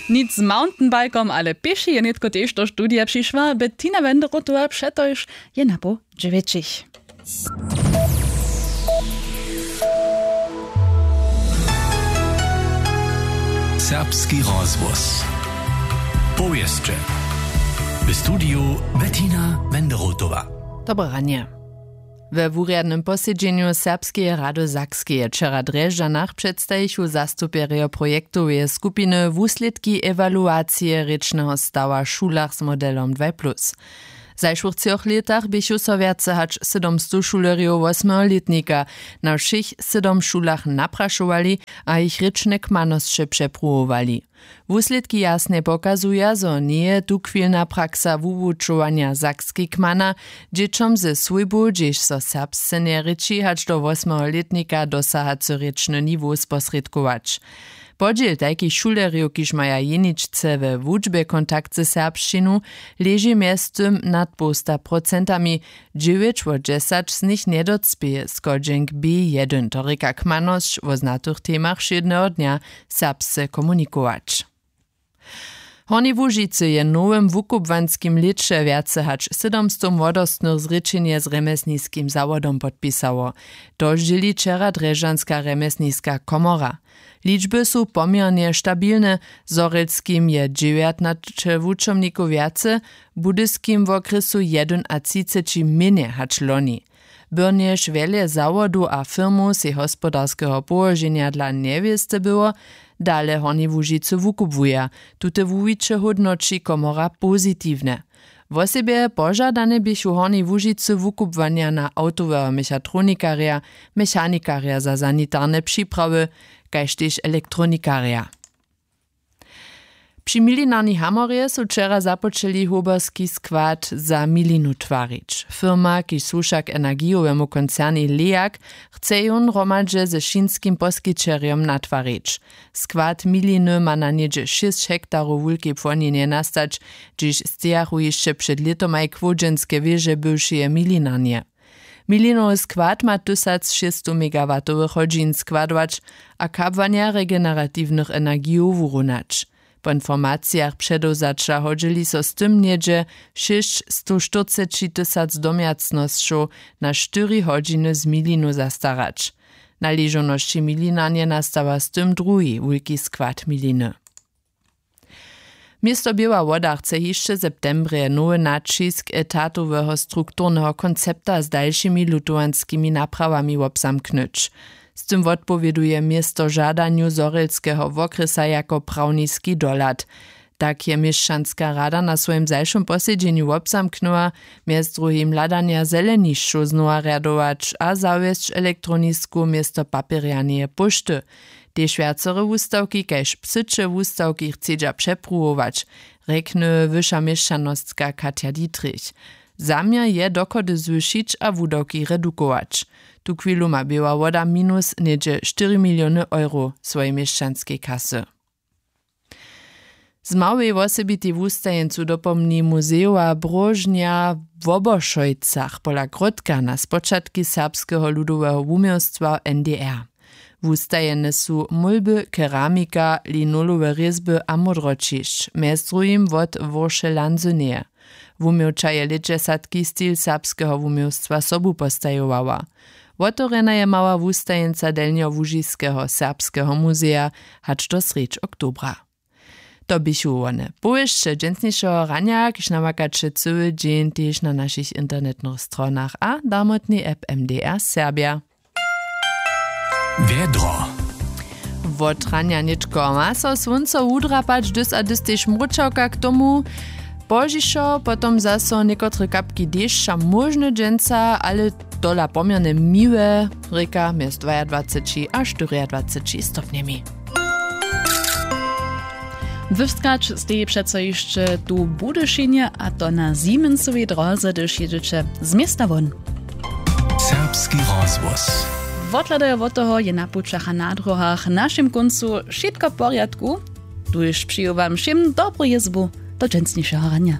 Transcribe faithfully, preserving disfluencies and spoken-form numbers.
Nic z mountainbikom, ale pěši je nětko tež do studija přišła Bettina Wenderotowa, přetož je napoł dźewjećich. Serbski rozhłos. Powěsće. W studiju Bettina Wenderotowa. Dobre ranje. We wurjadnym posedźenju Serbskeje rady Sakskeje wčera w Drježdźanach předstajichu zastupjerjo projektoweje skupiny wuslědki ewaluacije rěčneho stawa w šulach z modelom dwaj plus. W zašłych třoch lětach běchu so wjace hač sydomstow šulerjow wosmeho lětnika na wšěch sydom šulach naprašowali a jich rěčne kmanosće přepruwowali. Wuslědki jasnje pokazuja, zo njeje tuchwilna praksa wuwučowanja sakskej kmana, dźěćom ze swójbu, hdźež so serbsce njerěči, hač do wosmeho lětnika dosahacy rěčny niwow sposrědkować. Podźěl tajkich šulerjow, kiž maja jeničce we wučbje kontakt ze serbšćinu, leži mjeztym nad połsta procentami, dźewjeć wot dźesać z nich njedocpěje schodźenk B jedyn, to rěka kmanosć wo znatych temach wšědneho dnja serbsce komunikować. W Hornjej Łužicy je w nowym wukubłanskim lěće wjace hač sydomstow młodostnych zrěčenje z rjemjesniskim zawodom podpisało. To zdźěli wčera drježdźanska rjemjesniska komora. Ličby su poměrnje stabilne. W zhorjelskim je dźewjatnaće wučomnikow wjace, w budyskim wokrjesu jedynatřiceći mjenje hač loni. Byrnjež wjele zawodow a firmow sej hospodarskeho połoženja dla njewěsty było, dale w Hornjej Łužicy wukubłuja. Tute wuwiće hódnoći komora pozitiwnje. Wosebje požadane běchu w Hornjej Łužicy wukubłanja na awtoweho mechatronikarja, mechanikarja za sanitarne připrawy, kaž tež elektronikarja. Při milinarni hamorje su wčera započeli hoberski skład za milinu twarić. Firma, kiž słuša k energijowemu koncernej Leag, chce jón hromadźe ze šinskim poskićerjom natwarić. Skład miliny ma na něhdźe šěsć hektarow wulkej płonjenje nastać, hdźež stejachu hišće před lětomaj kłowdźenske wěže bywšeje milinarnje. Milinowy skład ma tysac šěsćstow megawatowych hodźin składować a kabłanja regeneratiwnych energijow wurunać. Po informacijach předewzaća hodźeli so z tym něhdźe šěsćstow štyrceći tysac domjacnosćow na štyri hodźiny z milinu zastarać. Na ležownosći milinarnje nastawa z tym druhi wulki skład miliny. Město Běła Woda chce hišće w septembrje nowy naćisk etatoweho strukturneho koncepta z dalšimi lutowanskimi naprawami wobzamknyć. Z tym wotpowěduje město žadanju zhorjelskeho wokrjesa jako prawniski dohlad. Tak je měšćanska rada na swojim zašłym posedźenju wobzamknyła, mjez druhim hladanja zelenišćow znowa rjadować a zawjesć elektronisku město papjerjaneje póšty. Tež wjacore wustawki kaž psyće wustawki chcedźa přepruwować, rjekny wyša měšćanostka Katja Dietrich. Zaměr je dochody zwyšić a wudawki redukować. Tuchwilu ma Běła Woda minus něhdźe štyri miliony euro swojej měšćanskej kasy. Z małej wosebitej wustajeńcu dopomni muzejowa bróžnja w Wobošojcach pola Gródka na spočatki serbskeho ludoweho wuměłstwa w N D R. Wustajene su mólby, keramika, linolowe rězby a módroćišć, mjez druhim wot Urše Lanzyneje. Wuměłča je lětdźesatki stil serbskeho wuměłstwa sobu postajowała. Wotewrjena je mała wustajeńca Delnjołužiskeho serbskeho muzeja hač do srjedź oktobra. To běchu wone powěsće dźensnišeho ranja, kiž namakaće cyły dźeń tež na našich internetnych stronach a damotnej app M D R Serbja. Wjedro. Wot ranja nětko ma so słónco wudrapać, dys a dys tež mróčawka k tomu. Pozdźišo potom zaso někotre kapki dešća móžne dźensa, ale tola poměrnje miłe, rěka mjez dwajadwaceći a štyriadwaceći stopnjemi. Wywskać steji přeco hišće tu w Budyšinje, a to na Siemensowej dróze, hdyž jědźeće z města won. Serbski rozhłos. Wothladajo wot toho je na pućach a na dróhach w našim kóncu wšitko w porjadku. Tuž přeju wam wšěm dobru jězbu do dźensnišeho ranja.